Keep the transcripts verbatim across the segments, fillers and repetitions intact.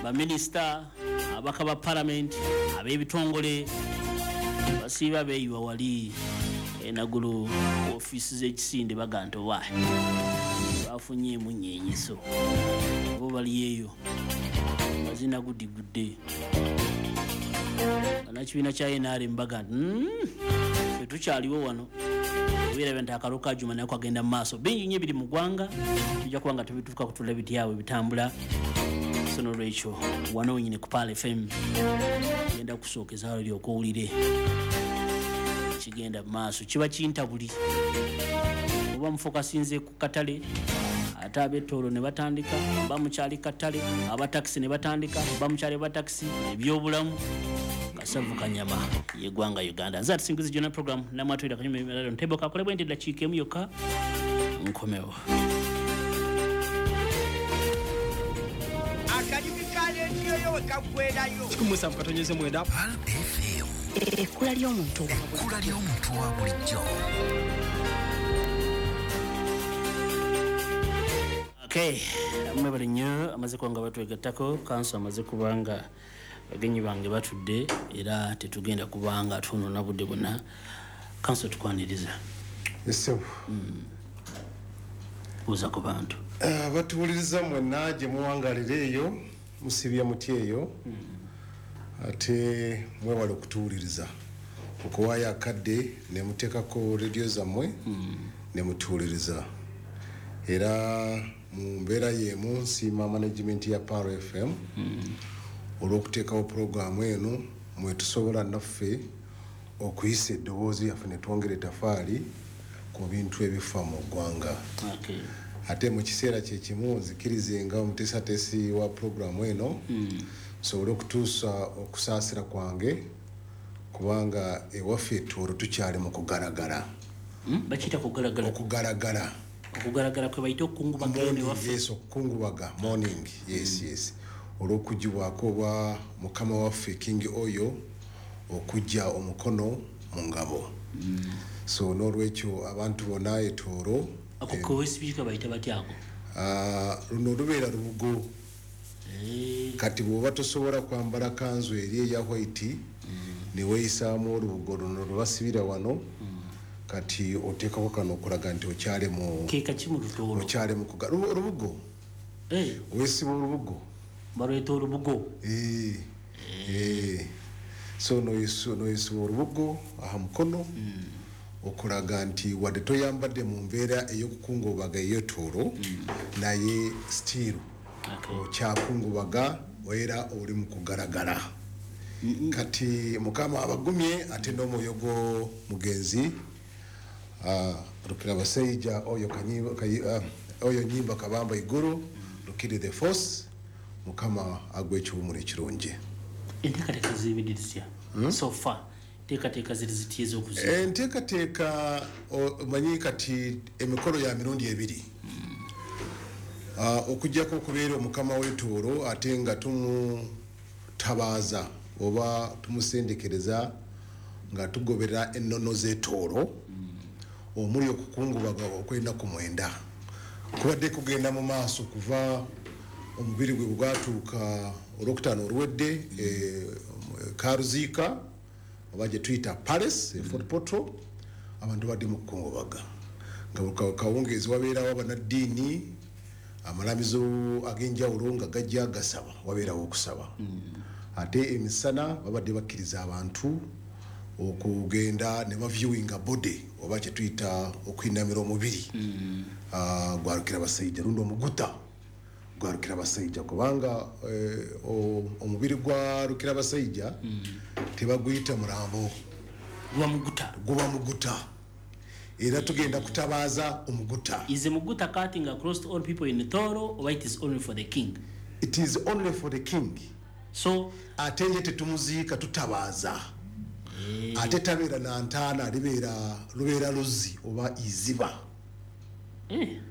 Baminisita, ababaka ba palamenti, ab'ebitongole basiiba beeyiwa wali enagulu ofiisi z'ekisinde, baga nti owa bafunye emunyenyeso bo bali eyo bazina gudigudde. Bannakibiina kya N R M baga nti ffe tukyaliwo wano, obeera nti akalulu ka Juma nako kagenda mu maaso. Bingi nnyo ebiri mu ggwanga, tujja kuba nga tubituuka kutula bityawe bitambula. So nolwekyo wano wenyini ku Pearl F M genda kusookeza olyoke owulire kigenda mu maaso. Kiba kintabuli oba mufokasinze ku katale, ate ab'ettoolo ne batandika, bamukyali katale, abatakisi ne batandika, bamukyali batakisi, ebyobulamu kasavu kanyama yeggwanga Uganda. Nze atusinguzi Jona program namwatulira kanyuma emirala ntebo kakolebwa nti eddakiika emu yokka nkomewo. Akalimi ka leediyo yo we kaggweerayo. Kikumi musanvu katonyeze mwenda. Pearl F M. Ekkula ly'omuntu. Ekkula ly'omuntu wa bulijjo. Okay, mwebale nnyo amaze kuba nga batwegattako, kanso amaze kuba nga bagenyi bange batudde era tetugenda kubanga twonoona budde bwonna. Kanso tukwaniriza. Ssebo. Buuza ku bantu. Uh, batuwuliriza mwenna gye muwangalira eyo, musibye muti eyo, ate mwewale okutuwuliriza okuwaayo akadde ne muteekako rediyo zammwe ne mutuwuliriza. Era mu mbeera y'emu nsiima management ya Pearl F M olw'okuteekawo pulogulaamu eno mwe tusobola naffe okuyisa eddoboozi lyaffe ne twongera ettafaali ku bintu ebifa mu ggwanga. Okay. Ate mu kiseera kye kimu nzikirize nga omuteesateesi wa pulogulaamu eno nsobole okutuusa okusaasira kwange kubanga ewaffe Tooro tukyali mu kugalagala. Bakiyita kugalagala? Okugalagala. Okugalagala kwe bayita okukungubaga eno ewaffe. Yes, okukungubaga, morning, yes, yes. Olw'okugibwako oba mukama waffe King Oyo okuggya omukono mu ngabo. So n'olwekyo abantu bonna e Tooro. Ako kewesibika bayita batya ako? Luno lubeera lubugo. Kati bw'oba tosobola kwambala kanzu eri eya white ne weeyisaamu olubugo luno lwe basibira wano, kati oteekako kano okulaga nti okyali mu Ke kaki mu Lutooro? Okyali mu kuga-, lubu-, olubugo. Weesiba olubugo. Baluyita olubugo. Eh. Eh. So n'oyisiba olubugo aha mukono okulaga nti wadde toyambadde mu mbeera ey'okukungubaga ey'ettoolo, naye still okyakungubaga era oli mu kugalagala. Kati Mukama abagumye ate n'omwoyo gw'omugenzi Rukira Baseija oyo oyo Nyimba Kabamba Iguru Rukiri the Force, Mukama agwe ekiwummulo ekirungi. Enteekateeka zibiri zitya? So far enteekateeka ziri zitya ez'okuziika? Enteekateeka omanyi kati emikolo ya mirundi ebiri. Okuggyako okubeera omukama w'ettoolo ate nga tumutabaaza oba tumusendekereza nga tugoberera ennono z'ettoolo omuli okukungubaga okw'ennaku mwenda. Kubadde kugenda mu maaso kuva omubiri gwe bwatuuka olwokutaano oluwedde Karuziika oba gye tuyita Palace e Fort Portal, abantu badde mu kukungubaga nga kawungeezi wabeerawo abannaddiini, amalamizo ag'enjawulo nga gajja gasaba, wabeerawo okusaba. Ate emisana babadde bakkiriza abantu okugenda ne baviewinga body oba kye tuyita okuyinamira omubiri gwa Rukira Baseija lundi omuguta gwa Rukira Baseija, kubanga omubiri gwa Rukira Baseija tebaguyita mulambo, guba muguta, guba muguta. Era tugenda kutabaaza omuguta. Is muguta cutting across all people in Tooro or it is only for the king? It is only for the king. So ate ye tetumuziika, tutabaaza. Ate tabeera na ntaana, libeera lubeera luzzi oba iziba.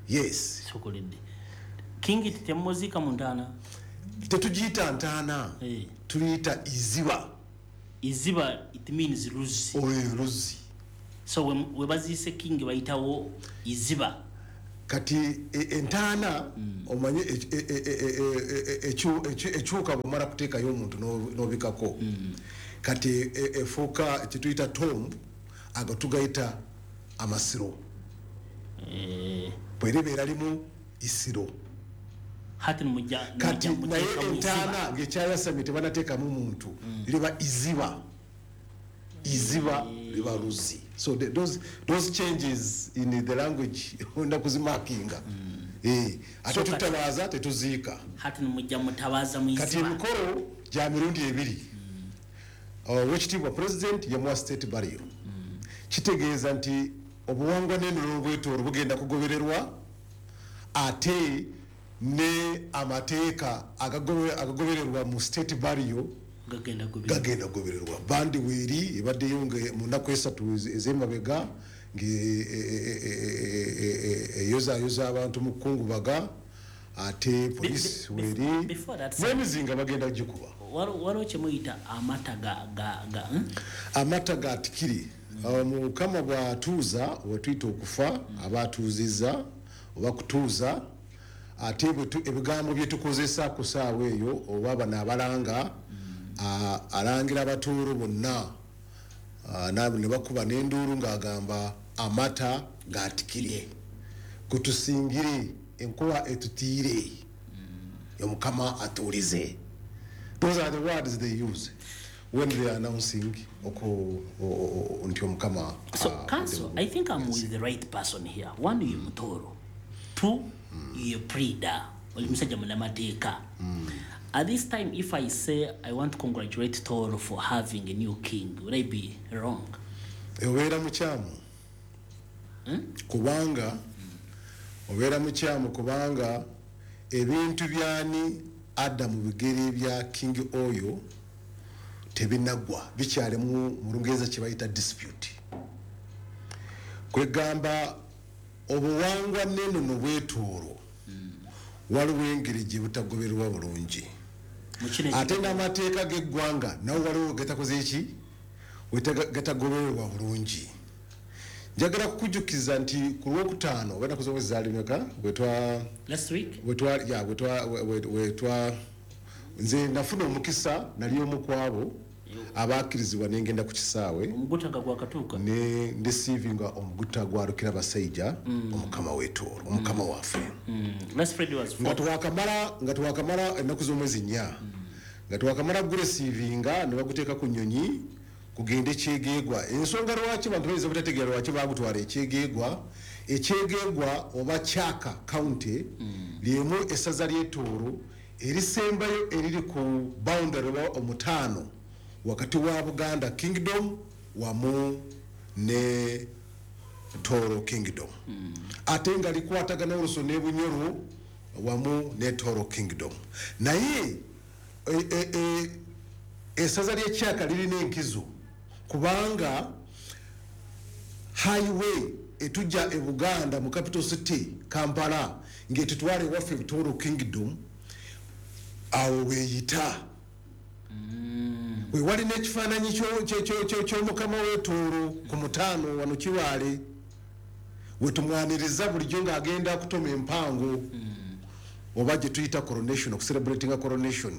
Yes. Sokoledde. King temuziika mu ntaana? Tetugiyita ntaana, tuliyita iziba. Iziba it means luzzi. Oyo luzzi. So we baziise king bayitawo iziba. Kati entaana omanye ekyuka bwomala kuteekayo omuntu n'obikako, kati efuuka kyetuyita tomb, ago tugayita amasiro, bwe libeera limu isiro. Kati naye entaana ng'ekyayasamye tebanateekamu muntu, liba iziba, iziba liba luzzi. So the, those, those changes in the language onda kuzimakinga. Mm. Eh, ate tutabaaza tetuziika. Hati mujja mutabaza mu iziba. Kati emikolo gya mirundi ebiri. Owekitiibwa president yamuwa state burial. Mm. Kitegeeza nti obuwangwa n'ennono bwetoolo bugenda kugobererwa, ate ne amateeka agagobererwa mu state burial gagenda kugobererwa. Bandi weeri ebaddeyo mu nnaku esatu ez'emabega ng'eyozaayoza abantu mu kkungubaga, ate poliisi weeri n'emizinga bagenda gikuba. Waliwo kye muyita amata ga ga amata ga tikiri. Mukama bw'atuuza wetuyita okufa, aba atuuzizza oba kutuuza, ate ebigambo bye tukozesa ku ssaawa eyo oba bano abalanga, alangira abatuuru bonna ne bakuba n'enduulu ng'agamba amata gaatikire, gutusingire enkuba etutiire, omukama atuulize. Those are the words they use when they are announcing nti omukama. So council, I think I'm with the right person here. One, you Mutoro. Two, you Prida. Oli musajja munnamateeka. At this time, if I say I want to congratulate Toro for having a new king, would I be wrong? Obeera mukyamu. Kubanga, obeera mukyamu kubanga ebintu byani adda mu bigere bya King Oyo tebinaggwa, bikyalimu mu Lungereza kye bayita dispute. Kwegamba obuwangwa n'ennono bwetoolo waliwo engeri gye butagobererwa bulungi. Ate n'amateeka g'eggwanga nawo waliwo gatakoze ki? Gatagobererwa bulungi. Njagala kukujjukiza nti ku Lwokutaano oba ennaku z'omwezi zaali mmeka bwe last week bwe ya bwe twa nze nafuna omukisa nali omu ku abo abakkirizibwa ne ngenda ku kisaawe. Omuguta nga gwakatuuka. Ne ndeceivinga omuguta gwa Rukirabasajja, omukama w'Etooro, omukama waffe. Last Friday was nga twakamala nga twakamala ennaku z'omwezi nnya, nga twakamala guresiivinga ne baguteeka ku nnyonyi kugenda Ekyegeegwa. Ensonga lwaki abantu bayinza obutategeera lwaki baagutwala Ekyegeegwa, Ekyegeegwa oba Kyaka County lyemu essaza ly'Etooro erisembayo eriri ku boundary oba omutaano wakati wa Buganda Kingdom wamu ne Toro Kingdom. Ate nga likwatagana oluso ne Bunyoro wamu ne Toro Kingdom. Naye essaza ly'Ekyaka lirina enkizo kubanga highway etujja e Buganda mu capital city Kampala ng'etutwala ewaffe Toro Kingdom awo weeyita. We wali n'ekifaananyi ky'omukama w'Etooro ku mutaano wano Kibaale, we tumwaniriza bulijjo ng'agenda kutoma empango oba gye tuyita coronation, okucelebratinga coronation.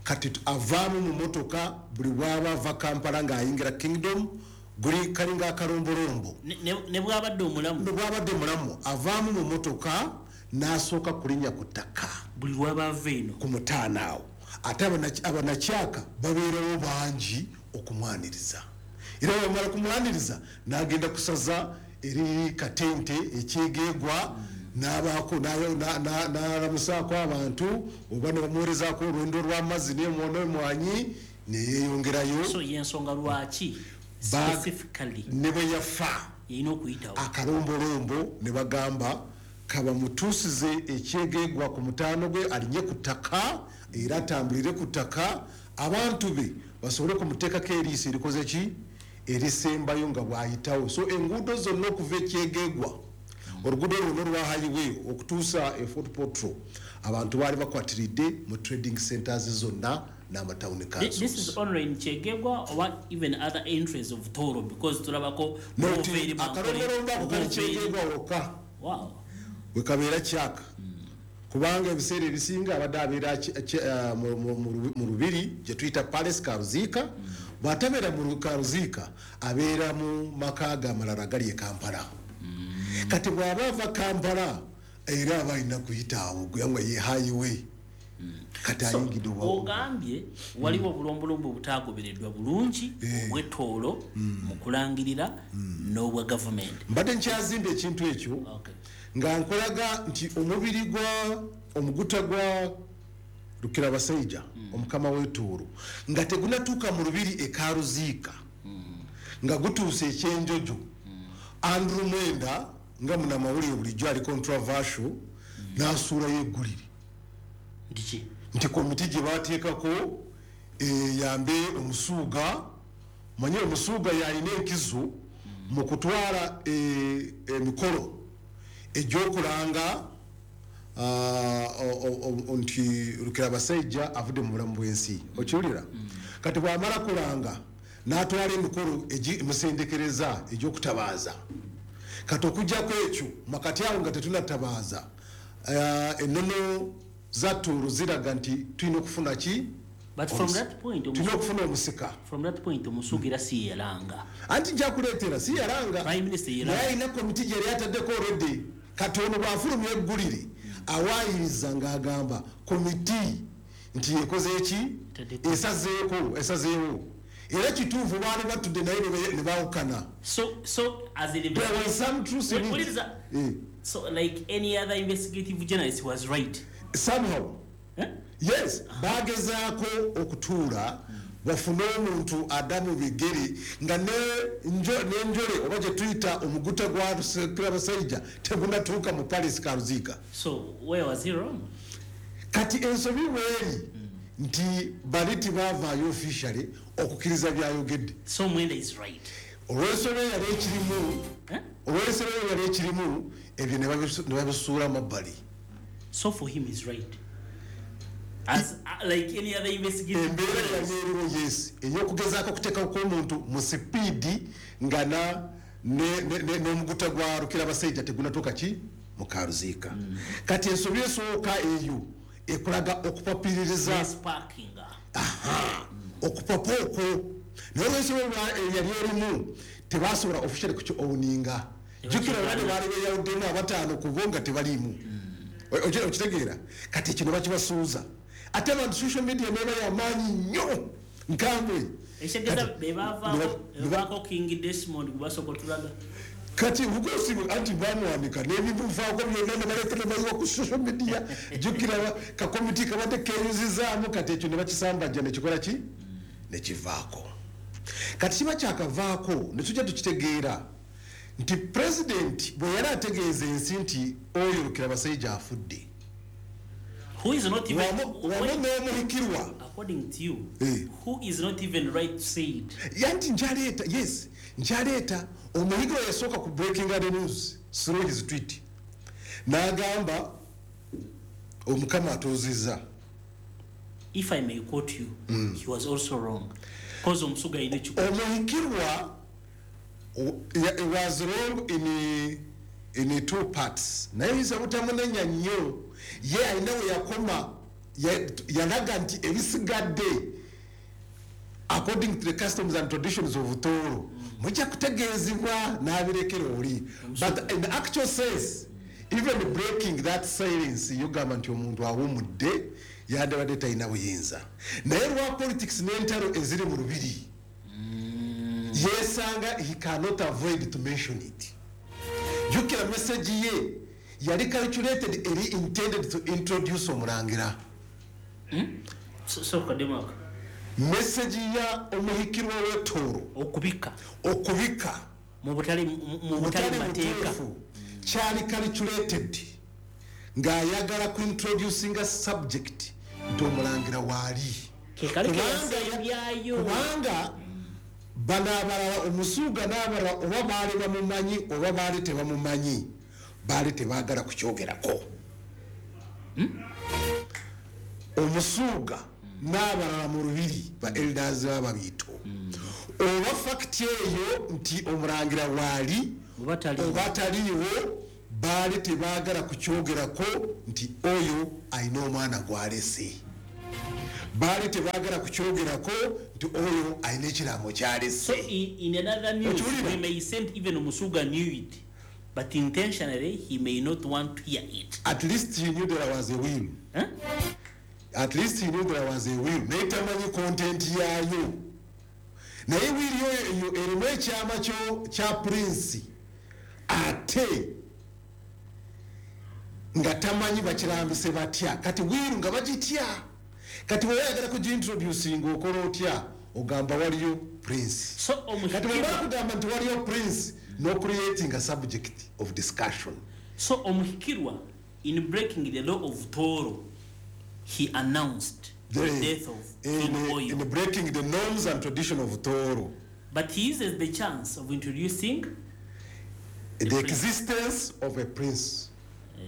Kati avaamu mu motoka buli bw'aba ava Kampala ng'ayingira Kingdom, guli kalinga akalombolombo. Ne bw'abadde omulamu. Ne bw'abadde omulamu avaamu mu motoka n'asooka kulinnya ku ttaka. Buli lw'aba ava eno. Ku mutaano awo. Ate abanakyaka babeerawo bangi okumwaniriza. Era bw'amala kumwaniriza n'agenda kusaza eri Katente Ekyegeegwa, n'abaako n'alamusaako abantu oba ne bamuweerezaako olwendo lw'amazzi n'emwanyi ne yeeyongerayo. So y'ensonga lwaki specifically ne bwe yafa yalina okuyitawo akalombolombo ne bagamba kabamutuusize Ekyegeegwa ku mutaano gwe alinye ku ttaka era atambulire ku ttaka abantu be basobole kumuteekako eriiso erikoze ki erisembayo nga bw'ayitawo. So enguudo zonna okuva Ekyegeegwa, oluguudo luno olwa highway okutuusa e Fort Portal, abantu baali bakwatiridde mu trading centers zonna n'amatawuni councils. This is only in Kyegegwa or even other entries of Toro, because tulabako akalombolombo ako kali Kyegegwa wokka. Wow. Wekabeera kyaka kubanga ebiseera ebisinga abadde abeera mu lubiri gye tuyita Palace Karuziika. Bw'atabeera mu Karuziika abeera mu maka ge amalala agali e Kampala. Kati bw'aba ava Kampala era aba alina kuyita awo gwe ye highway. Kati ayingidde ogambye waliwo obulombolombo obutagobereddwa bulungi obw'ettoolo mu kulangirira n'obwa gavumenti. Mbadde nkyazimba ekintu ekyo nga nkolaga nti omubiri gwa omuguta gwa Rukirabasaija omukama w'ettoolo nga tegunatuuka mu lubiri e Karuziika nga gutuuse ekyenjojo, Andrew Mwenda nga munnamawulire bulijjo ali controversial n'asuulayo eggulire nti komiti gye bateekako eyambe omusuuga. Manye omusuuga yalina enkizo mu kutwala emikolo egy'okulanga nti Rukirabasaija avudde mu bulamu bw'ensi, okiwulira? Kati bw'amala kulanga n'atwala emikolo egimusendekereza egy'okutabaaza. Kati okuggyako ekyo makati awo nga tetunatabaaza, ennono za Tooro ziraga nti tulina okufuna ki? Tulina okufuna omusika. From that point omusuuga era si yalanga. Anti nja kuleetera si yalanga. Prime Minister yalanga. Naye alina komiti gye yali ataddeko already. Kati ono bw'afulumya eggulire awaayiriza ng'agamba komiti nti ekoze eki? Esazeeko, esazeewo. Era kituufu baali batudde naye ne baawukana. So, so as a there was some truth in it. Eh. So like any other investigative journalist was right. Somehow. Eh? Yes, bagezaako okutuula bafune omuntu addamu bigere nga n'enjole oba gye tuyita omuguta gwa Rukirabasaija tegunatuuka mu Palace Karuziika. So where was he wrong? Kati ensobi weeri nti bali tebavaayo officially okukkiriza byayogedde. So Mwenda is right. Olw'ensobi yali ekirimu, olw'ensobi yali ekirimu ebyo ne babisuula mabbali. So for him is right. As uh, like any other investigative embeera yali eriwo, yes, ey'okugezaako okuteekako omuntu mu sipiidi nga n'omuguta gwa Rukirabasaija tegunatuuka ki mu Karuziika. Kati ensobi esooka eyo ekulaga okupapiririza okupapa okwo. Naye olw'ensobi yali erimu tebasobola officially kuki-owninga. Jjukira bane baali beeyawuddemu abataano ku bo nga tebaliimu. Okitegeera? Kati kino bakibasuuza. Ate abantu social media neeba yamaanyi nnyo nkambwe. Ekitegeeza be bavaako King Desmond gwe basooka otulaga. Kati bugosi anti bamuwanika n'ebimuvaako byonna ne baleeta ne bayiwa ku social media. Jjukira kakomiti kabadde keeyuzizaamu kati ekyo ne bakisambajja ne kikola ki? Ne kivaako. Kati kiba kyakavaako ne tujja tukitegeera nti president bwe yali ategeeza ensi nti oyo Rukirabasaija afudde. Who is not even wamu n'omuhikirwa. According to you, eh. who is not even right to say it? Yanti nkyaleeta, yes, nkyaleeta omuhikirwa yasooka ku breaking the news through his tweet. N'agamba omukama atuuzizza. If I may quote you, mm. he was also wrong. Because omusuga alina ekikulu. Omuhikirwa was wrong in in two parts. Naye yinza butamunenya nnyo. Ye alina we yakoma yalaga nti ebisigadde according to the customs and traditions of Tooro mujja kutegeezebwa n'abirekera oli. But in the actual sense, even breaking that silence, yogamba nti omuntu awumudde yandibadde talina buyinza. Naye lwa politics n'entalo eziri mu lubiri yesanga he cannot avoid to mention it. Jjukira message ye yali calculated eri intended to introduce omulangira. So, so kademaka. Message ya omuhikirwa w'ettooro okubika okubika mu butali mu butali mateeka kyali calculated ng'ayagala ku introducing a subject nti omulangira waali. Kubanga bano abalala omusuuga n'abalala oba baali bamumanyi oba baali tebamumanyi baali tebaagala kukyogerako. Omusuuga n'abalala mu lubiri ba elders b'ababiito oba fact eyo nti omulangira waali oba taliiwo Baali tebaagala kukyogerako nti oyo alina omwana gw'alese. Baali tebaagala kukyogerako nti oyo alina ekiraamo ky'alese. So in, in another news, we may send even Musuga knew it, but intentionally he may not want to hear it. At least he knew there was a will. Huh? At least he knew there was a will. Naye tamanyi content yaayo. Naye will eyo erimu ekyama kya prince ate nga tamanyi bakirambise batya. Kati will nga bagitya. Kati bw'oyagala kugintroducing okola otya? Ogamba waliyo prince. So kati bwe bakugamba nti waliyo prince, no creating a subject of discussion. So Omuhikirwa, in breaking the law of Toro, he announced the, the death of King Oyo. In breaking the norms and tradition of Toro. But he uses the chance of introducing the, the existence of a prince. Uh,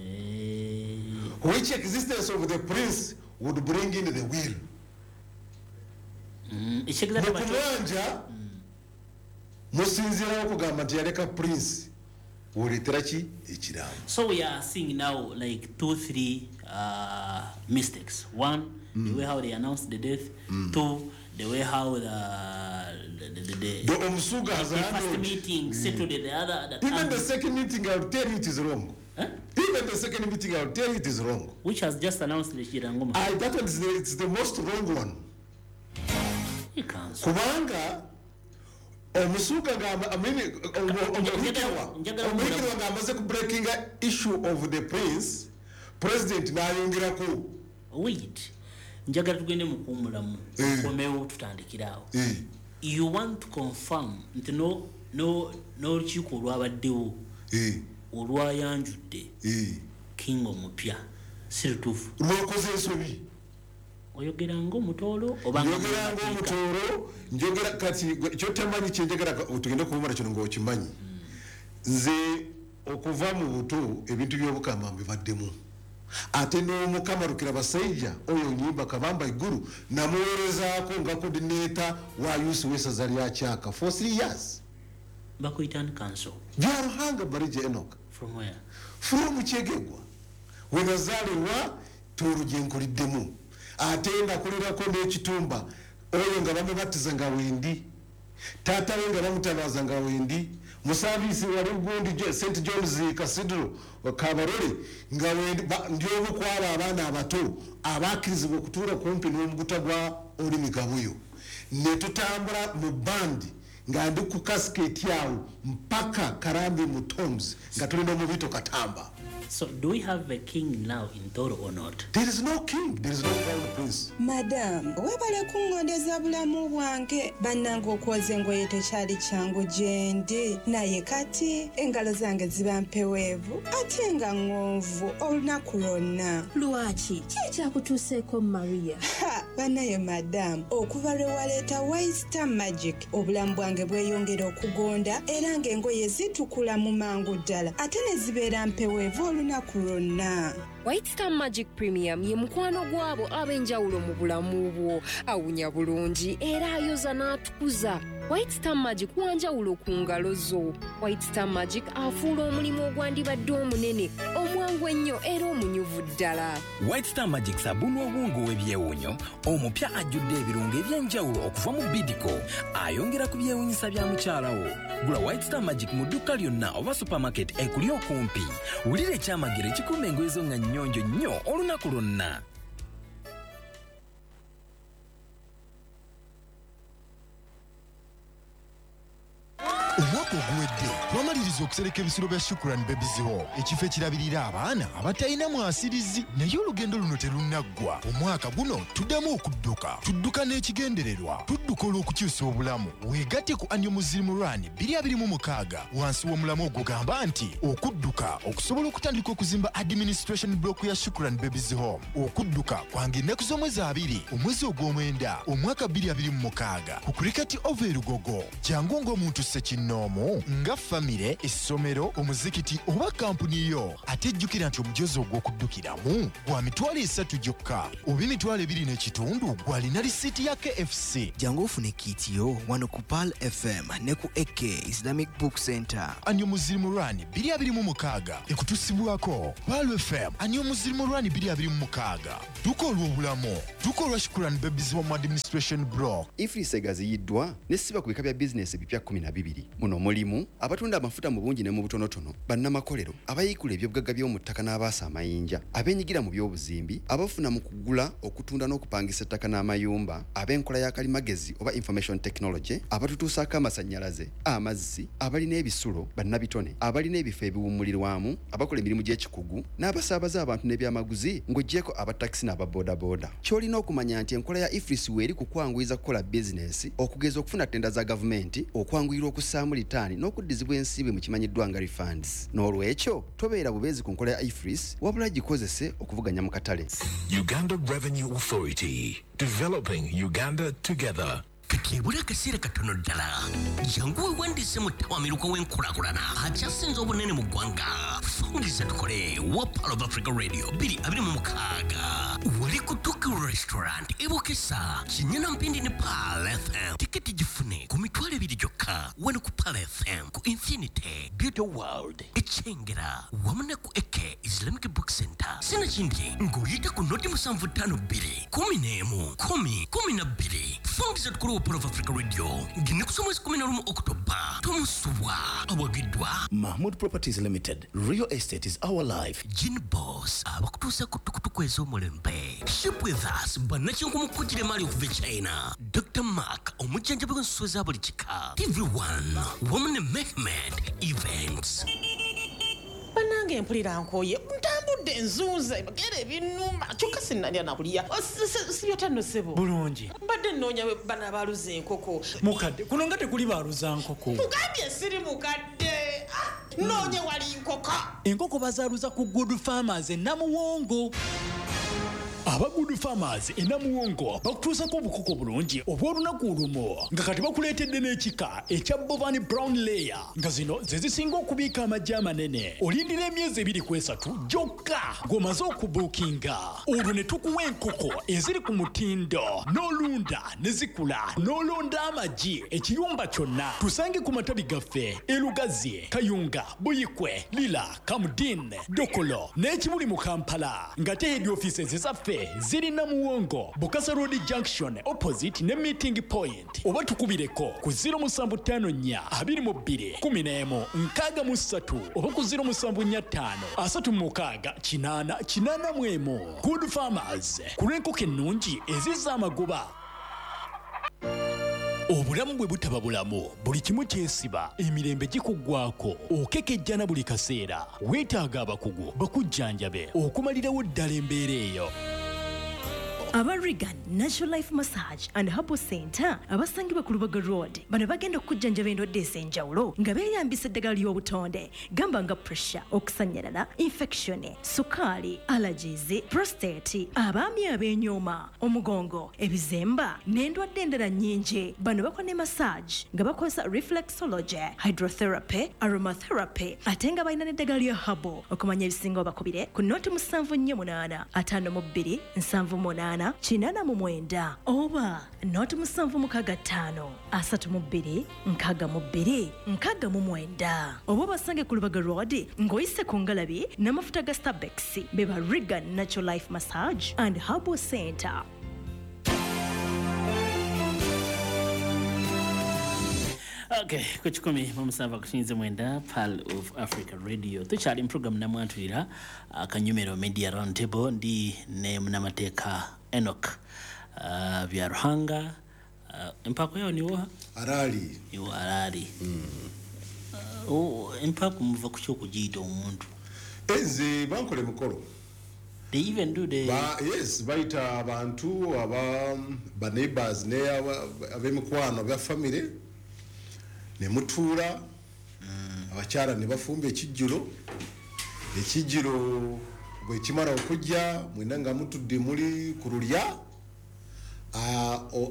Which existence of the prince would bring in the will. Mukumwanja musinzira okugamba nti yaleka prince woletera ki ekiraamo. So we are seeing now like two, three uh, mistakes. One, mm. the way how they announced the death. Mm. Two, the way how the the the, the, the Omusuga has the first meeting mm. settled the other. The Even the second meeting, I will tell you it is wrong. Huh? Even the second meeting, I will tell you it is wrong. Which has just announced the Kirangoma. I, that one is the, it's the most wrong one. You can't. Kubanga Omusuga gamba, I mean, Omuhikirwa Omuhikirwa ng'amaze ku breaking issue of the prince, president n'ayongerako. Wait, njagala tugende mu kuwummulamu, tukomewo tutandikire awo. You want to confirm nti no no n'olukiiko olwabaddewo olwayanjudde king omupya si lutuufu. Lwakoze ensobi. Oyogera ng'omutoolo oba njogera ng'omutoolo, njogera kati kyotamanyi kye njagala tugende kuwummula kino ng'okimanyi. Nze okuva mu buto ebintu by'obukama mbibaddemu. Ate n'omukama Rukirabasajja oyo Nyimba Kabamba Iguru namuweerezaako nga coordinator wa youth w'essaza lya Kyaka for three years. Bakuyita ani council? Byaruhanga Barije Enoch. From where? From Kyegegwa. We nazaalirwa Tooro gye nkuliddemu. Ate ndakulirako n'ekitumba oyo nga bamubatiza nga wendi, taata we nga bamutabaza nga wendi, musaavisi wali gundi Saint John's Cathedral Kabarole nga wendi, ndi omu ku abo abaana abato abakkirizibwa okutuula kumpi n'omuguta gwa Olimi Gabuyo. Ne tutambula mu bandi nga ndi ku casket awo mpaka Karambi mu Tombs nga tuli n'omubito Katamba. So do we have a king now in Toro or not? There is no king, there is no crown prince. Madam, webale kungondeza bulamu bwange. Bannange okwoza engoye tekyali kyangu gye ndi. Naye kati engalo zange ziba mpeweevu ate nga ŋŋonvu olunaku lwonna. Lwaki? Ki ekyakutuuseeko Maria? Ha, bannaye madam, okuva lwe waleeta White Star Magic, obulamu bwange bweyongera okugonda era ng'engoye zitukula mu mangu ddala ate ne zibeera mpeweevu olunaku lwonna. White Star Magic Premium ye mukwano gw'abo ab'enjawulo mu bulamu bwo. Awunya bulungi era ayoza n'atukuza. White Star Magic wanjawulo ku ngalo zo. White Star Magic afuula omulimu ogwandibadde omunene, omwangu ennyo era omunyuvu ddala. White Star Magic sabuni obwongo w'ebyewuunyo omupya ajjudde ebirungo eby'enjawulo okuva mu Bidco. Ayongera ku byewuunyisa bya mukyala wo. Gula White Star Magic mu dduuka lyonna oba supermarket ekuli okumpi. Wulira ekyamagero ekikuuma engoye zo nga nnyonjo nnyo olunaku lwonna. Omwaka oguwedde twamaliriza okusereka ebisulo bya Shukran Babies Home, ekifo ekirabirira abaana abatalina mwasirizi. Naye olugendo luno terunnaggwa. Omwaka guno tuddamu okudduka, tudduka n'ekigendererwa, tudduka olw'okukyusa obulamu. Weegatte ku Annual Muslim Run bbiri abiri mu mukaaga wansi w'omulamu ogugamba nti okudduka okusobola okutandika okuzimba administration block ya Shukran Babies Home. Okudduka kwange ennaku z'omwezi abiri omwezi ogw'omwenda omwaka bbiri abiri mu mukaaga ku Cricket Oval e Lugogo. Jangu ng'omuntu ssekinnoomu nga famire Essomero, omuzikiti oba kampuni yo. Ate jjukira nti omujozi ogw'okuddukiramu gwa mitwalo esatu gyokka oba emitwalo ebiri n'ekitundu gw'alina risiiti ya K F C. Jangu ofune kit yo wano ku Pearl F M ne ku A K Islamic Book Center. Anyo Muzirimu Rani bbiri abiri mu mukaaga ekutusibwako Pearl F M. Anyo Muzirimu Rani bbiri abiri mu mukaaga. Duka olw'obulamu, duka olwa Shukuran Babies Home Administration Block. EFRIS egaziyiddwa n'essiba ku bika bya bizinesi ebipya kkumi na bibiri. Muno mulimu abatunda amafuta mu bungi ne mu butonotono, bannamakolero, abayiikula ebyobugagga by'omu ttaka n'abaasa amayinja, abeenyigira mu by'obuzimbi, abafuna mu kugula, okutunda n'okupangisa ettaka n'amayumba, ab'enkola ya kalimagezi oba information technology, abatutuusaako amasannyalaze, amazzi, abalina ebisulo, bannabitone, abalina ebifo ebiwummulirwamu, abakola emirimu gy'ekikugu, n'abasaabaza abantu n'ebyamaguzi ng'oggyeko abatakisi n'ababoodabooda. Ky'olina okumanya nti enkola ya EFRIS weeri ku kwanguyiza kukola bizinesi, okugeza okufuna ttenda za gavumenti, okwanguyirwa okussaamu litaani n'okuddizibwa ensimbi mu kimanyiddwa nga refunds. N'olwekyo tobeera bubeezi ku nkola ya EFRIS, wabula gikozese okuvuganya mu katale. Uganda Revenue Authority, developing Uganda together. Kati ebula akaseera katono ddala, jangu weewandiise mu ttawamiruka w'enkulaakulana akyasinze obunene mu ggwanga. Fungiza tukole wa Pearl of Africa Radio bbiri abiri mu mukaaga wali ku Tuku Restaurant e Bukesa, Kinyana Mpindi ne Pearl F M. Tiketi gifune ku mitwalo ebiri gyokka wano ku Pearl F M, ku Infinity Beauty World e Kyengera wamu ne ku A K Islamic Book Center. Sinakindi ng'oyita ku noti musanvu ttaano bbiri kumi n'emu kumi kumi na bbiri. Fungiza tukole wa Pearl of Africa Radio ng'ennaku z'omwezi kumi na lumu Oktoba. Tomusubwa awagiddwa Mahmood Properties Limited. Real estate is our life. Gin Boss abakutuusa ku tukutuku ez'omulembe. Ship with us bannakinku mu kujjira emaali okuva e China. Doctor Mark omujjanjabi w'ensolo za buli kika. T V one wamu ne Mehmed Events. Bannange mpulira nkooye, ntambudde nzunze ebigere binnuma kyokka sinnalya na kulya. Sibyotanno ssebo. Bulungi. Mbadde nnoonya bano abaaluza enkoko. Mukadde, kuno nga tekuli baaluza nkoko. Mugambye siri mukadde. Nnoonye wali nkoko. Enkoko bazaaluza ku Good Farmers e Namuwongo. Aba Good Farmers e Namuwongo bakutuusako obukoko bulungi obw'olunaku olumu nga kati bakuleetedde n'ekika ekya Bovani Brown Layer nga zino ze zisinga okubiika amagi amanene. Olindira emyezi ebiri ku esatu gyokka ng'omaze okubuukinga, olwo ne tukuwa enkoko eziri ku mutindo n'olunda ne zikula n'olonda amagi ekiyumba kyonna. Tusange ku matabi gaffe e Lugazi, Kayunga, Buyikwe, Lira, Kamudin, Dokolo n'ekibuli mu Kampala nga te head offices zaffe ziri Namuwongo, Bukasa Road Junction opposite ne meeting point, oba tukubireko ku zero musanvu ttaano nnya abiri mu bbiri kumi n'emu nkaaga mu ssatu oba ku zero musanvu nnya ttaano asatu mu mukaaga kinaana kinaana mu emu. Good Farmers, ku lw'enkoko ennungi ezizza amagoba. Obulamu bwe butaba bulamu, buli kimu kyesiba, emirembe gikuggwako, okekejjana buli kaseera. Weetaaga abakugu bakujjanjabe okumalirawo ddala embeera eyo. Aba Regan Natural Life Massage and Herbal Center abasangibwa ku Lubaga Road bano bagenda okujjanjaba endwadde ez'enjawulo nga beeyambisa eddagala ly'obutonde gamba nga pressure, okusannyalala, infection, sukaali, allergies, prostate, abaami ab'enyooma, omugongo, ebizemba n'endwadde endala nnyingi. Bano bakola ne massage nga bakozesa reflexology, hydrotherapy, aromatherapy ate nga balina n'eddagala lya herbal. Okumanya ebisingawo bakubire ku noti musanvu nnyo munaana ataano mu bbiri nsanvu munaana kinana mu mwenda oba noti musanvu mukaaga ttaano asatu mu bbiri nkaaga mu bbiri nkaaga mu mwenda oba basange ku Lubaga Road ng'oyise ku ngalabi n'amafuta ga Starbucks. Beba Regan Natural Life Massage and Herbal Center. Okay, ku kikumi mu musanvu akusinze mwenda Pearl of Africa Radio. Tukyali mu program namwantulira akanyumero Media Roundtable ndi ne munnamateeka Enoch uh, Byaruhanga. Uh, empako yao ni wa? Arali. Ni Arali. Mm. Uh, oh, empako muva ku ky'okugiyita omuntu. Enze bankole mukolo. They even do the... Ba, yes, bayita abantu aba ba neighbors ne ab'emikwano aba family ne mutuula mm. abakyala ne bafumba ekijjulo. Ekijjulo bwe kimala okujja mwena nga mutudde muli ku lulya,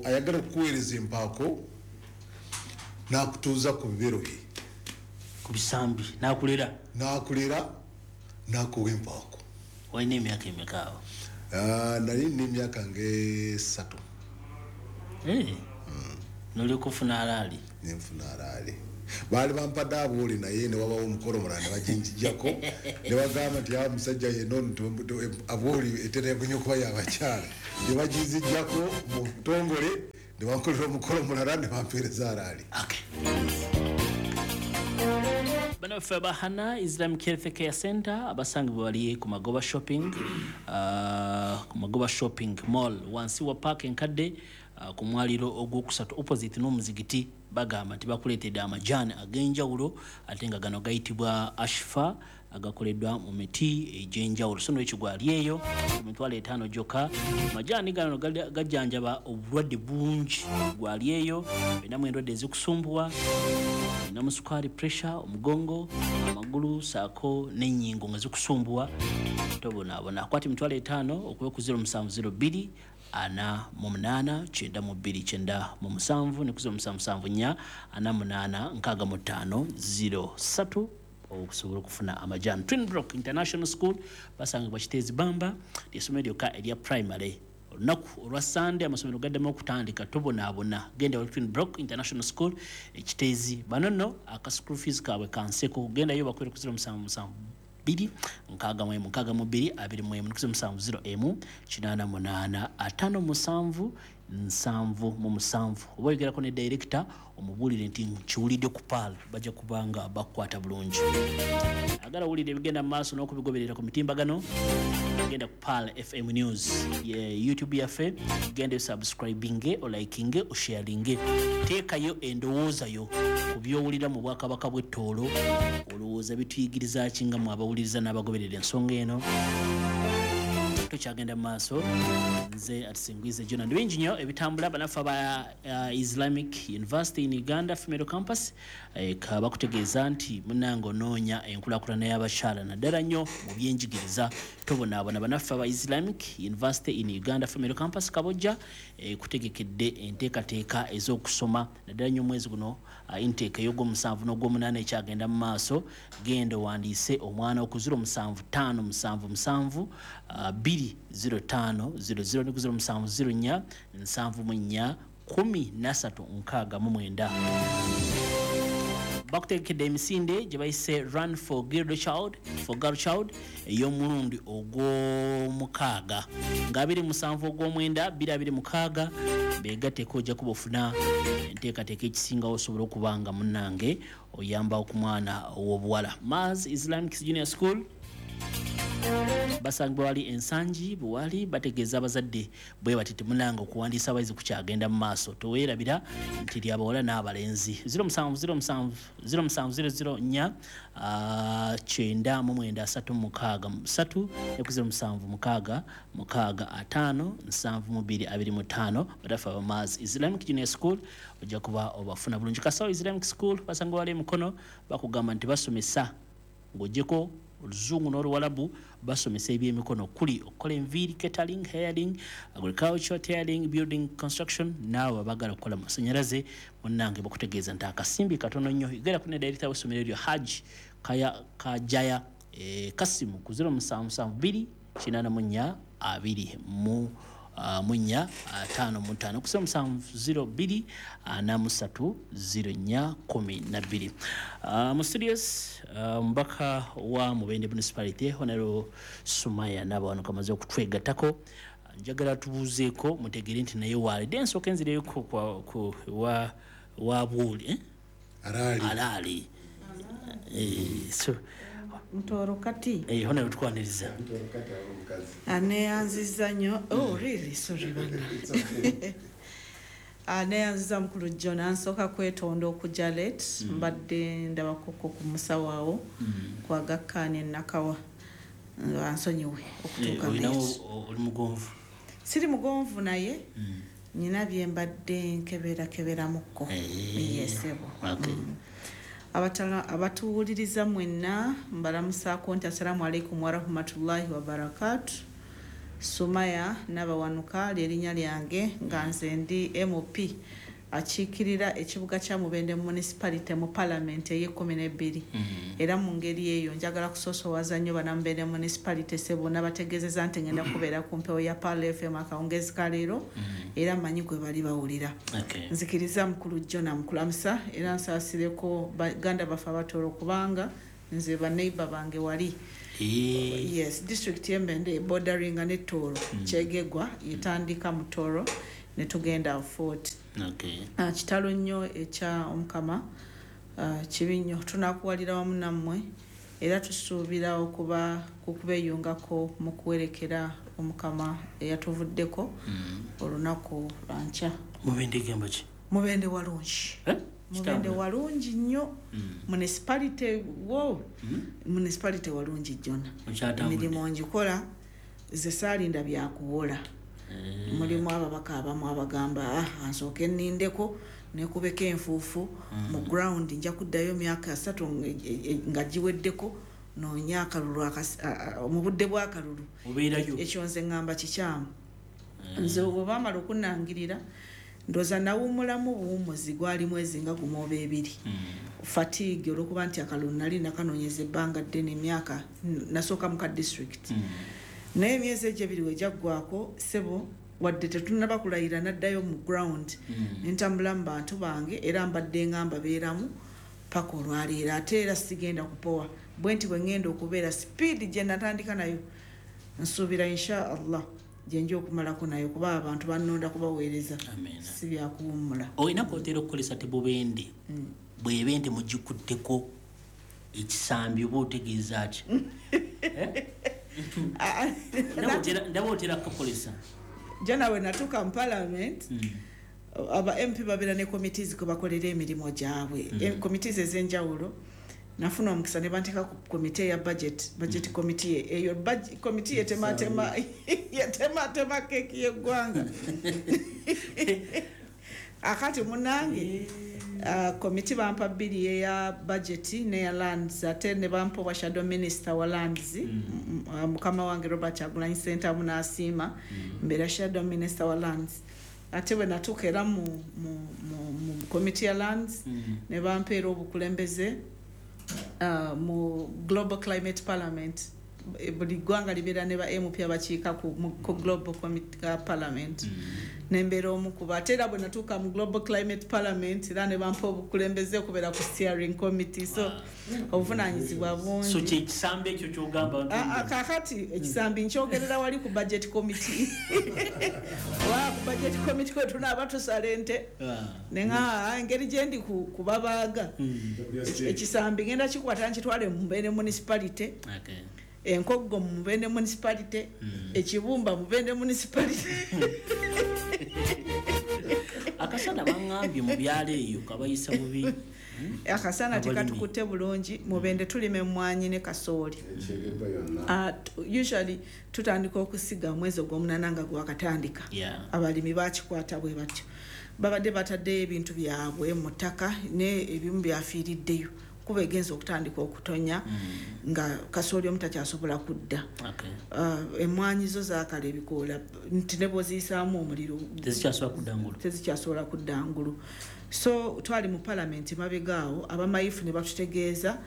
ayagala okuweereza empaako n'akutuuza ku bibero bye. Ku bisambi n'akulera? N'akulera n'akuwa empaako. Walina emyaka emeka awo? Ah, nali nina emyaka ng'esatu. Eh. Nolyoka ofuna alaali? Nenfuna alaali. Baali bampadde abuuli naye ne wabawo omukolo omulala ne baginjijjako ne bagamba nti awo musajja yenna ono abuuli etera nnyo okuba y'abakyala, ne baginzijjako mu butongole ne bankolera omukolo omulala ne bampeereza alaali. Bannaffe abahana Islamic Health Care Center abasangibwa bali ku Magoba Shopping, uh, ku Magoba Shopping Mall wansi wa park enkadde, uh, ku mwaliro ogwokusatu opposite n'omuzigiti, bagamba nti bakuleetedde amajaani ag'enjawulo ate nga gano gayitibwa Ashfa, agakoleddwa mu miti egy'enjawulo. So n'ekigwali eyo ku mitwalo etaano gyokka. Amajaani gano gajjanjaba obulwadde bungi. Gwali eyo olinamu endwadde ezikusumbuwa, olinamu sukaali, pressure, omugongo, amagulu saako n'ennyingo nga zikusumbuwa, tobonaabona. Akwata emitwalo etaano okuba ku zero musanvu zero bbiri ana mu munaana kyenda mu bbiri kyenda mu musanvu ne ku zero musanvu musanvu nnya ana munaana nkaaga mu ttaano zero ssatu okusobola okufuna amajaani. Twin Brook International School basangibwa Kiteezi Bamba, ly'essomero lyokka erya primary. Olunaku olwa Sande amasomero gaddamu okutandika, tobonaabona, genda wali Twin Brook International School e Kiteezi. Bano nno aka school fees kaabwe kanseko, gendayo bakwere ku zero musanvu musanvu bbiri nkaaga mu emu nkaaga mu bbiri abiri mu emu ne ku zero musanvu zero emu kinaana munaana ataano musanvu nsanvu mu musanvu. Oba oyogerako ne director omubuulire nti nkiwulidde ku Pearl, bajja kubanga bakukwata bulungi. Agala owulire ebigenda mu maaso n'okubigoberera ku mitimbagano, genda ku Pearl F M News ye YouTube yaffe, genda osubscribinge, olikinge, osharinge, teekayo endowooza yo ku by'owulira mu bwakabaka bw'ettoolo. Olowooza bituyigiriza ki nga mwe abawuliriza n'abagoberera ensonga eno? Tukyagenda mu maaso, nze Atisingwize Jonah. Ndi bingi nnyo ebitambula. Bannaffe aba uh, Islamic University in Uganda Female Campus eh, bakutegeeza nti munnange onoonya enkulaakulana y'abakyala naddala nnyo mu byenjigiriza, tobonaabona. Bannaffe aba Islamic University in Uganda Female Campus Kabojja eh, kutegekedde enteekateeka ez'okusoma naddala nnyo omwezi guno, uh, intake ey'ogwomusanvu n'ogwomunaana ekyagenda mu maaso. Genda owandiise omwana ku zero musanvu ttaano musanvu musanvu uh, bbiri zero ttaano zero zero ne ku zero musanvu zero nnya nsanvu mu nnya kumi na ssatu nkaaga mu mwenda. Bakutegekedde emisinde gye bayise Run for Girl Child, for Girl Child ey'omulundi ogw'omukaaga nga abiri musanvu ogw'omwenda bbiri abiri mukaaga. Beegatteko ojja kuba ofuna enteekateeka ekisingawo osobola okuba nga munnange oyamba ku mwana ow'obuwala. Mars Islamic Junior School basangibwa wali Ensangi buwali, bategeeza abazadde bwe bati temunanga okuwandiisa abayizi kukyagenda mu maaso. Toweerabira nti lyabawala n'abalenzi. zero musanvu zero musanvu zero musanvu zero zero nnya kyenda mu mwenda asatu mukaaga ssatu ne ku zero musanvu mukaaga mukaaga ataano nsanvu mu bbiri abiri mu ttaano. Badafa aba Mars Islamic Junior School ojja kuba obafuna bulungi. Kasawo Islamic School basangibwa wali Mukono, bakugamba nti basomesa ng'oggyeko oluzungu n'oluwalabu, basomesa ebyemikono kuli okukola enviiri, catering, hairing, agriculture, tailoring, building construction. Naawe abaagala okukola masannyalaze munnange bakutegeeza nti akasimbi katono nnyo. Yogera ku ne director w'essomero eryo Haji Kaya Kajaya eh, Kasimu ku zero musanvu musanvu bbiri kinaana mu nnya abiri mu uh, mu nnya ataano mu ttaano ku zero musanvu zero bbiri ana mu ssatu zero nnya kumi na bbiri. Uh, mu studios omubaka uh, wa Mubende Municipality Honorable Sumaya Nabawanuka amaze okutwegattako. Njagala tubuuzeeko mutegere nti naye waalidde ensooka enzireyo ku, ku, wa, wa bwoli eh? Alaali, alaali. Eh, so Mutoro kati eh, Honorable tukwaniriza aneyanziza nnyo. Oh really, sorry bana. Aneyanziza mukulu John, ansooka kwetonda okujja late, mbadde ndabakoko ku musawo awo kwagakkaanya ennakawa, ansonyiwe okutuuka late. Oli mugonvu? Siri mugonvu naye nina bye mbadde nkeberakeberamuko. Yesebo. Abatuwuliriza mwenna mbalamusaako nti assalamu alaikum warahmatullahi wabarakatu. Sumaya Nabawanuka lyerinnya lyange, nga nze ndi M P Akiikirira ekibuga kya Mubende Municipality mu Parliament ey'ekkumi n'ebbiri. Era mu ngeri eyo njagala kusoosowaza nnyo bannamubende Municipality sebona bategeezezza nti ngenda kubeera ku mpewo ya Pearl F M akawungeezi ka leero, era mmanyi gwe bali bawulira. Nzikiriza mukulu Jona mukulamusa, era nsaasireko baganda baffe Abatooro kubanga nze baneighbor bange wali. Yes, district y'Embende bordering ne Tooro, Kyegegwa etandika mu Tooro ne tugenda Fort. Okay. Uh, kitalo nnyo ekya Omukama, uh, kibi nnyo, tunakuwalira wamu nammwe era tusuubira okuba kukubeeyungako mu kuwerekera Omukama eyatuvuddeko olunaku lwankya. Mubende gemba ki? Mubende walungi. Eh? Mubende walungi nnyo. Municipality wo municipality walungi Jona. Emirimu ngikola ze saalinda byakuwola. Mulimu ababaka abamu abagamba ah nsooke nnindeko nekubeko enfuufu mu ground, nja kuddayo emyaka asatu nga giweddeko noonya akalulu mu budde bw'akalulu. Ekyo nze ŋŋamba kikyamu. Nze bwe baamala okunnangirira ndowooza nawummulamu buwummuzi gwali mwezi nga gumu oba ebiri. Fatigue olw'okuba nti akalulu nali nakanoonyeza ebbanga ddene, emyaka nasooka mu ka district. Naye emyezi egyo ebiri we gyaggwako ssebo wadde tetunnaba kulayira naddayo mu ground, ne ntambula mu bantu bange era mbadde nga mbabeeramu paka olwaleero. Ate era sigenda kupowa bwe nti bwe ŋŋenda okubeera speed gye natandika nayo nsuubira insha Allah gye nja okumalako nayo, kuba abantu bannonda kubaweereza, si byakuwummula. Olina kwotera okukozesa tebubende bw'ebe nti mugikutteko ekisambi oba otegeeza ki? Ndaba otera kukozesa. Jana we natuuka mu Parliament, aba M P babeera ne committees kwe bakolera emirimu gyabwe, committees ez'enjawulo. Nafuna omukisa ne banteeka ku committee ya budget, budget committee eyo committee yetematema yetematema keeki y'eggwanga. Akati munnange committee bampa bbiri, eya budget n'eya lands, ate ne bampa obwa shadow minister wa lands, mukama wange Robert Kyagulanyi Ssentamu n'asiima mbeera shadow minister wa lands. Ate bwe natuuka era mu mu committee ya lands ne bampeera obukulembeze mu Global Climate Parliament. Buli ggwanga libeera ne ba M P abakiika ku Global Parliament, nembeera omu kuba. Ate era bwe natuuka mu Global Climate Parliament era ne bampa obukulembeze okubeera ku steering committee. So obuvunaanyizibwa bungi. So kyekisambi ekyo ky'ogamba? Kaakati ekisambi nkyogerera wali ku budget committee. Wa ku budget committee kwe tunaaba tusala ente, ne ŋŋamba engeri gye ndi kubabaaga ekisambi ngenda kikwata nkitwale mu Mubende Municipality, Enkoggo mu Mubende Municipality, Ekibumba mu Mubende Municipality. Akasana baŋŋambye mu byalo eyo kabayisa bubi. Akasana tekatukutte bulungi. Mubende tulima emmwanyi ne kasooli. Usually tutandika okusiga omwezi ogw'omunaana nga gwakatandika. Abalimi bakikwata bwe batyo. Babadde bataddeyo ebintu byabwe mu ttaka ne ebimu byafiiriddeyo kuba egenza okutandika okutonya nga kasooli omu takyasobola kudda. Emmwanyi zo zaakala ebikoola nti ne bw'oziyisaamu omuliro tezikyasobola kudda ngulu. So twali mu Parliament mabega awo abamayifu ne batutegeeza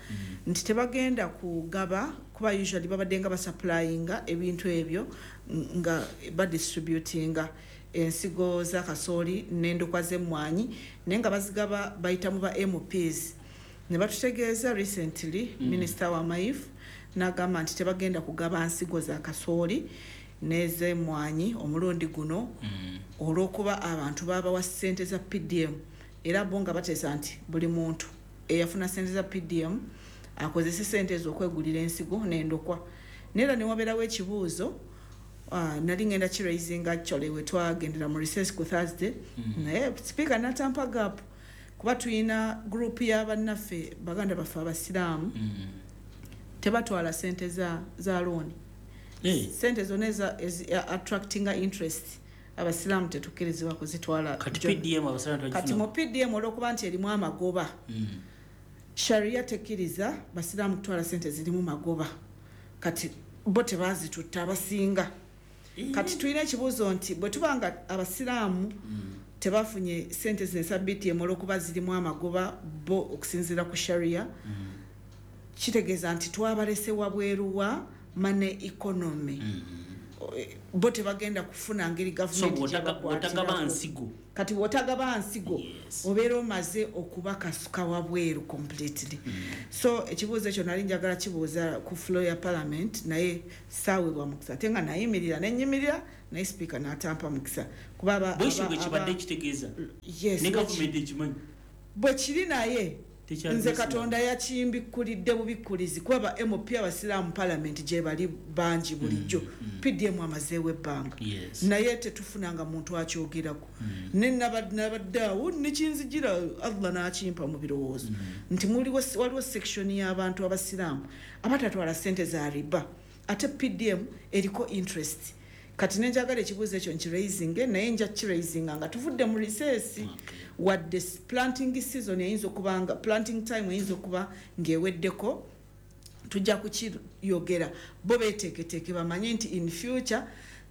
nti tebagenda kugaba, kuba usually babadde nga basupplyinga ebintu ebyo nga badistributinga ensigo za kasooli n'endokwa z'emmwanyi, naye nga bazigaba bayita mu ba M Ps. Ne batutegeeza recently Minister wa Mayifu n'agamba nti tebagenda kugaba nsigo za kasooli n'ez'emmwanyi omulundi guno olw'okuba abantu baabawa ssente za P D M, era bo nga bateesa nti buli muntu eyafuna ssente za P D M akozese ssente ezo okwegulira ensigo n'endokwa. Naye era ne wabeerawo ekibuuzo, nali ngenda kiraisinga actually we twagendera mu recess ku Thursday, naye speaker n'atampa gap kuba tuyina group y'abannaffe baganda baffe abasiraamu tebatwala ssente za za loan. Ssente zonna eza attractinga interest abasiraamu tetukkirizibwa kuzitwala. Kati mu P D M olw'okuba nti erimu amagoba, Sharia tekkiriza basiraamu kutwala ssente zirimu magoba. Kati bo tebazitutta abasinga. Kati tulina ekibuuzo nti bwe tuba nga abasiraamu Tebafunye sente zino eza B T M olw'okuba zirimu amagoba bo okusinziira ku sharia. Kitegeeza nti twabalese wabweru wa money economy. Bo tebagenda kufuna ngeri So gavumenti bw'otaga- bw'otagaba gyebakwatiraku. nsigo. Kati bw'otagaba nsigo, obeera omaze okubakasuka wabweru completely. So ekibuuzo ekyo nali njagala kibuuza ku floor ya parliament, naye saaweebwa mukisa, ate nga nayimirira nenyimirira, naye sipiika n'atampa mukisa kuba aba- Bwekyo aba- bwe kibadde aba- kitegeeza. Yes, Ne bwe gavumenti ekimanyi. Bwe kiri, naye Tekyali nze Muslim. Katonda yakimbikkulidde bubikkulizi, kuba ba M P abasiraamu parliament gye bali bangi bulijjo. P D M amazeewo ebbanga, Yes. naye tetufunanga muntu akyogerako. Ne naba- nabadde awo nekinzijira, Allah n'akimpa mu birowoozo nti muliwo, waliwo section y'abantu abasiraamu abatatwala sente za riba, ate P D M eriko interest. Kati nenjagala ekibuuzo ekyo nkiraisinge, naye nja kiraisinga nga tuvudde mu recess, wadde s- planting season eyinza okuba nga planting time eyinza okuba ng'eweddeko, tujja kukiyogera. Bo beteeketeeke, bamanye nti in future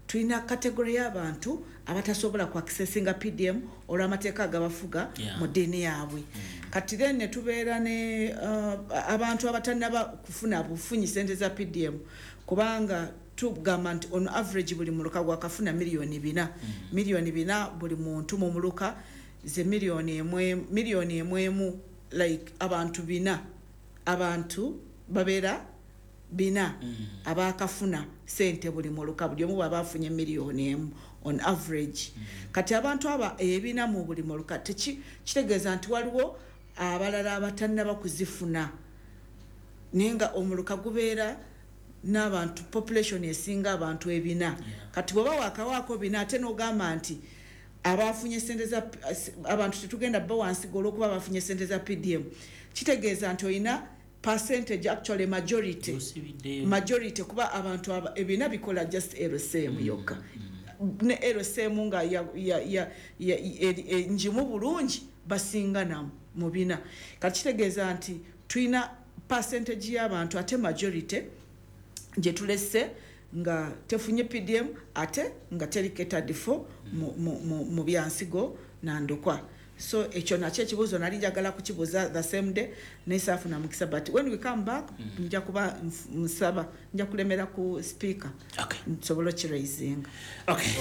tulina category y'abantu abatasobola ku accessinga P D M olw'amateeka agabafuga Yeah. mu ddiini yaabwe. Kati then ne tubeera ne uh, abantu abatannaba kufuna bufunyi sente za P D M, kubanga tugamba nti on average buli muluka gwakafuna miliyoni bina, miliyoni bina buli muntu mu muluka, ze miliyoni emwe, miliyoni emu emu, like abantu bina, abantu babeera bina abakafuna sente buli muluka, buli omu bwaba afunye miliyoni emu on average. Kati abantu aba ebina mu buli muluka, teki kitegeeza nti waliwo abalala abatannaba kuzifuna, naye nga omuluka gubeera n'abantu, population esinga abantu ebina. Kati bw'oba wakawaako bina, ate n'ogamba nti abafunye sente za abantu tetugenda bba wansigo olw'okuba bafunye sente za P D M, kitegeeza nti olina percentage, actually majority majority kuba abantu aba- ebina bikola just L C M yokka, ne L C M nga ya- ya- ya- ya- eri- e- njimu bulungi, basinga namu mu bina. Kati kitegeeza nti tulina percentage y'abantu, ate majority gye tulese nga tefunye P D M, ate nga teri catered for mu, mu, mu, mu byansigo nandokwa. So ekyo nakyo ekibuuzo nali njagala kukibuuza the same day, naye saafuna mukisa, but when we come back nja kuba nf- nsaba, nja kulemera ku speaker nsobole okiraisinga. Okay,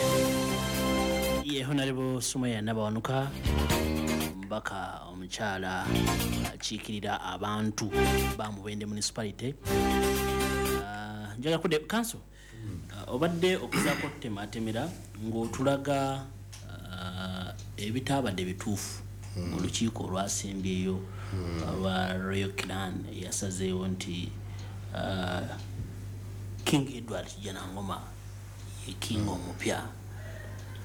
ye Honorable Sumaya Nabawanuka, omubaka omukyala akiikirira abantu ba Mubende Municipality. Ah, njagala kudde council. Ah, obadde okuzaako tutematemera ng'otulaga ah, ebitaabadde bituufu mu lukiiko olwasembyeyo olwa Royal Clan eyasazeewo nti ah, King Edward Kijanangoma ye king omupya.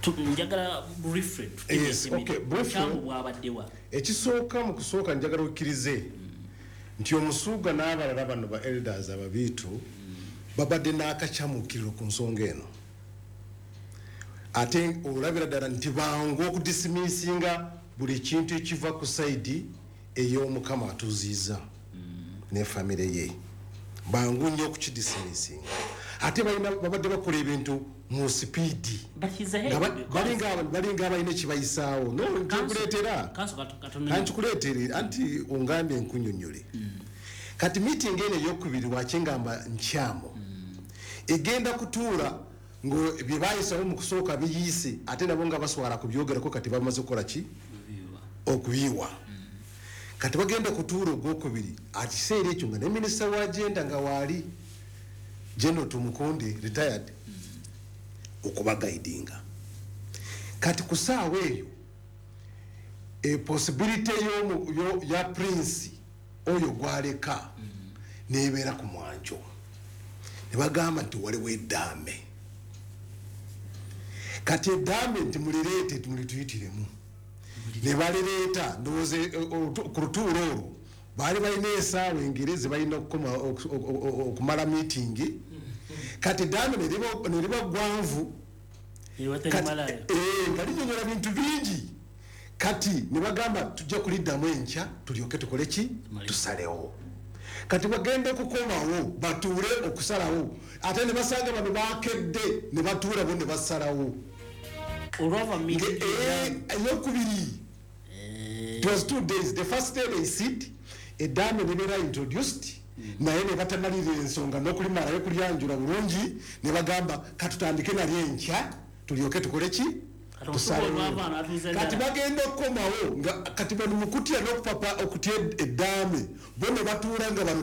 Tu- njagala briefly. Yes, okay, briefly. Obukyamu bwabaddewa? Ekisooka, mu kusooka njagala okkirize nti omusuuga n'abalala bano ba elders ababiitu babadde n'akakyamukiriro ku nsonga eno, ate olabira ddala nti bangu okudismissinga buli kintu ekiva ku side ey'omukama atuziiza ne famire ye. Bangu nnyo okukidismissinga, ate balina babadde bakola ebintu mu speed. Nga ba- balinga aba- balinga abalina ekibayisaawo. No, nkikuleetera, ankikuleetere, anti ongambye nkunyonyole. Kati meeting eno eyokubiri, wakingamba nkyamu, egenda kutuula ngo bye bayisawo mu kusooka biyiise, ate nabo nga baswala kubyogerako. Kati bamaze kukola ki? Okubiwa. Kati bagenda kutuula ogwokubiri, akiseera ekyo nga ne minisita wa gender nga waali, General Tumukunde retired, okubaguidinga. Kati ku saawa eyo e possibility y'omu- yo- ya prince oyo gwaleka nebeera ku mwanjo, ne bagamba nti waliwo eddaame. Kati eddaame nti mulireete, mulituyitiremu, ne balireeta. Ndowooza eh, olutu- ku lutuulo olwo baali balina esaawa engere ze balina okukoma- oku- oku- oku- okumala meeting. Kati eddaame ne liba- ne liba gwanvu. Kati, eh, nga linyonyola bintu bingi. Kati ne bagamba tujja kuliddamu enkya, tulyoke tukole ki? Tusalewo. Kati bagenda kukomawo batuule okusalawo, ate ne basanga bano bakedde ne batuula bo ne basalawo. Olwava meeting eyokubiri. It was two days. The first day they sit, eddaame nebeera introduced, naye ne batamalirira ensonga n'okulimalayo kulyanjula bulungi, ne bagamba katutandike nalyo enkya tulyoke tukole ki. Kati bagenda okukomawo nga kati bano mukutya n'okupapa okutya eddaame, bo ne batuula nga bano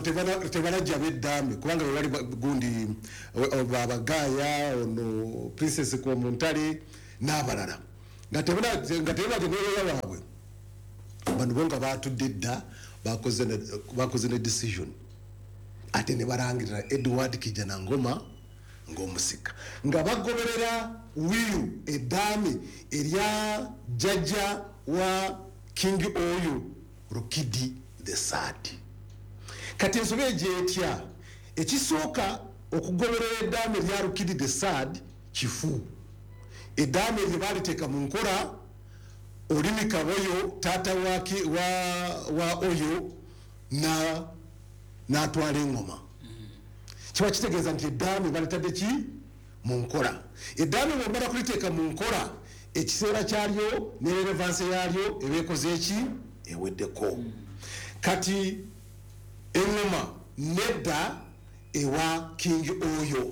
tebalajja b'eddaame, kubanga bwe bali gundi babagaaya ono Princess Komuntale n'abalala nga tebajja nebeera baabwe. Bano bo nga batudde dda, bakoze ne decision, ate ne balangirira Edward Kijanangoma ng'omusika, nga bagoberera wiyu eddaame erya jjajja wa King Oyo Rukidi the Third. Kati ensobi egyo etya? Ekisooka, okugoberera eddaame erya Rukidi the Third kifu. Eddaame eryo baaliteeka mu nkola Olimi Kaboyo taata wa, wa, wa Oyo na n'atwala engoma. Kiba kitegeeza nti eddaame balitadde ki mu nkola. Eddaame bw'omala kuliteeka mu nkola, ekiseera kyalyo ne relevance yalyo eba ekoze eki, eweddeko. Kati engoma nedda ewa King Oyo.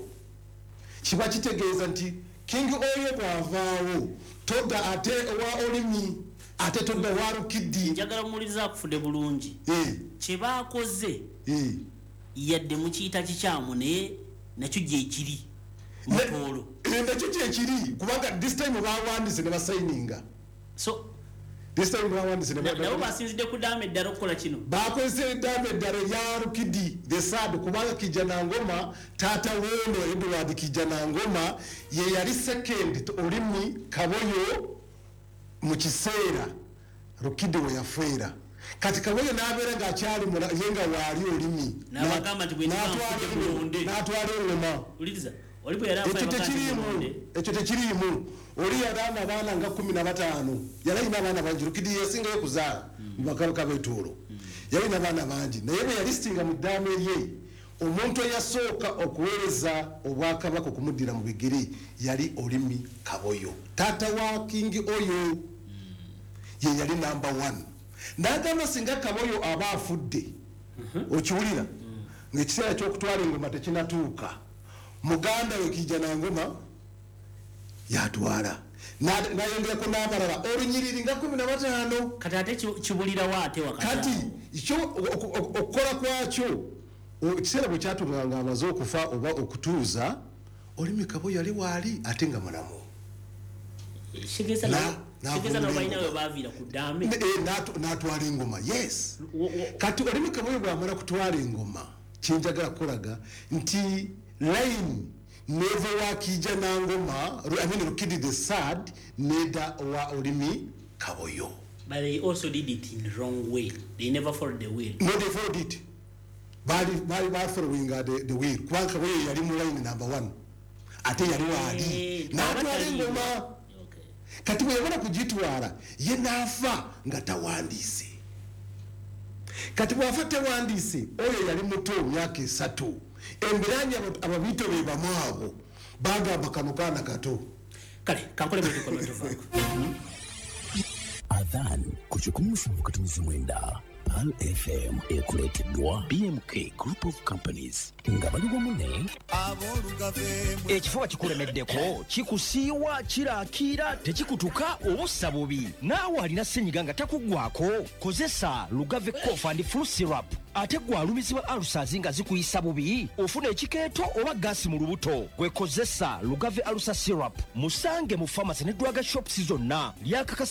Kiba kitegeeza nti King Oyo bw'avaawo todda ate ewa Olimi, ate todda wa Rukidi. Njagala muwuliriza akufudde bulungi. Kye baakoze yadde mukiyita kikyamu, naye nakyo gye kiri mutoolo. Nakyo gye kiri kubanga this time bawandiise ne basayininga. So this time bawandiise ne nabo basinzidde ku ddaame eddala okukola kino. Bakozesa eddaame eddala erya Rukidi the Third, kubanga Kijanangoma taata w'ono Edward Kijanangoma ye yali second to Olimi Kaboyo mu kiseera Rukidi we yafiira. Kati Kaboyo n'abeera ng'akyali ye nga waali Olimi n'abagamba nti n'atwala engoma. Ekyo tekiriimu, ekyo tekiriimu. Oli yalanga abaana nga kkumi na bataano, yali alina abaana bangi. Rukidi yasingayo kuzaala mu bakabaka b'Etoolo, yalina abaana bangi, naye bwe yalisitinga mu ddaame lye, omuntu eyasooka okuweereza obwakabaka okumuddira mu bigere yali Olimi Kaboyo, taata wa King Oyo, ye yali number one. N'agamba singa Kaboyo aba afudde, okiwulira, ng'ekiseera ky'okutwala engoma tekinnatuuka, muganda we Kijanangoma yatwala, nayongerako n'abalala olunyiriri nga kkumi na bataano. Kati ate kibulirawo ate wakati kati kyo okukola kwakyo, ekiseera bwe kyatuuka nga amaze okufa oba okutuuza, Olimi Kaboyo yali waali ate nga mulamu. N'atwala engoma. Yes. Kati Olimi Kaboyo bw'amala kutwala engoma, kyenjagala kukolaga nti line neva wa Kijanangoma, I mean Rukidi the Third, neda wa Olimi Kaboyo. But they also did it in the wrong way. They never followed the will. No, they followed it. Bali bali ba following the, the will. Kubanga Kaboyo yali mu line number one. Ate yali waali. N'atwala engoma. Kati bwe yamala kugitwala, ye n'afa nga tawandiise. Kati bw'afa tawandiise, oyo yali muto myaka esatu. Embiranye ababito be bamu abo bagamba kano kaana kato. Kale kankole bwe tukola tuvaako. Adhan ku kikumi musanvu katumizi mwenda Pearl F M ekuleeteddwa B M K Group of Companies nga bali wamu ne ekifuba kikulemeddeko, kikusiiwa, kirakiira, tekikutuka obussa bubi. Naawe alina ssenyiga nga takuggwako, kozesa Lugave Cough and Flu Syrup. Ate gwe alumizibwa ulcers nga zikuyisa bubi, ofuna ekikeeto oba gaasi mu lubuto, gwe kozesa Lugave Ulcer Syrup. Musange mu pharmacy ne drug shops zonna. Lyakakasa.